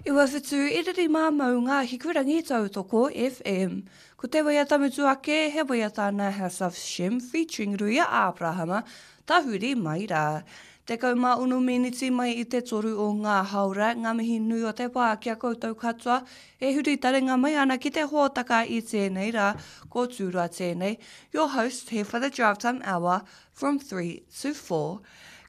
Iwawhitu i riri mā maunga Hikurangi Tautoko FM. Ko te waiata mutu ake, he waiata nā House of Shem featuring Ruia Āperahama, Tahuri mai rā. 16 miniti mai i te toru o ngā haora, ngā mihi nui o te wā ki a koutou katoa e huri taringa mai ana ki te hōtaka i tēnei rā, ko Tūroa tēnei, your host here for the Drive Time Hour from 3 to 4.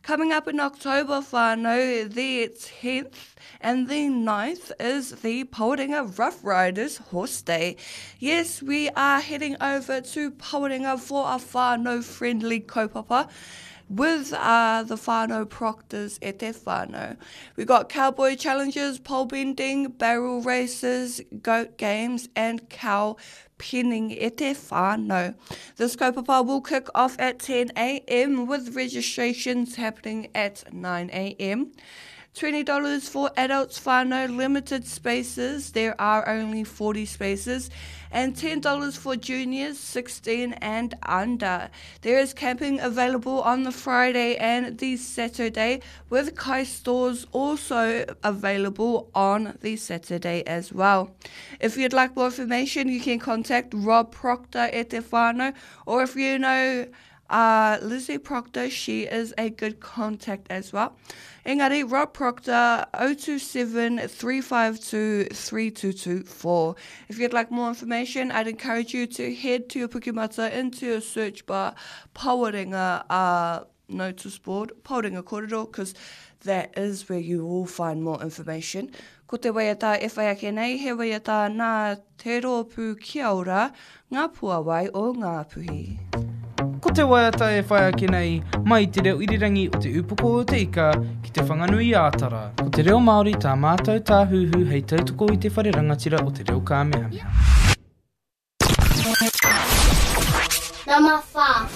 Coming up in October, whānau, the 10th and the 9th is the Pawarenga Rough Riders Horse Day. Yes, we are heading over to Pawarenga for a whānau friendly kaupapa with uh, the whānau proctors e te whānau. We got cowboy challenges, pole bending, barrel races, goat games and cow penning e te whānau. This kaupapa will kick off at 10am with registrations happening at 9am. $20 for adults whānau, limited spaces, there are only 40 spaces, and $10 for juniors 16 and under. There is camping available on the Friday and the Saturday, with kai stores also available on the Saturday as well. If you'd like more information, you can contact Rob Proctor at te whānau, or if you know uh, Lizzie Proctor, she is a good contact as well. Engari, Rob Proctor, 027 352 3224. If you'd like more information, I'd encourage you to head to your Pukemata into your search bar, Pawarenga uh, notice board, Pawarenga Corridor, because that is where you will find more information. Ko te waiata e whai ake nei, he waiata nā Te Rōpū Kia Ora, Ngā Puawai o Ngāpuhi. Ko te waiata e whai ake nei, mai i te reo irirangi o Te Ūpoko o Te Ika ki Te Whanganui-ā-Tara. Ko te reo Māori tā mātou tāhuhu hei tautoko i te whare rangatira o te reo kāmehameha. Nama wha.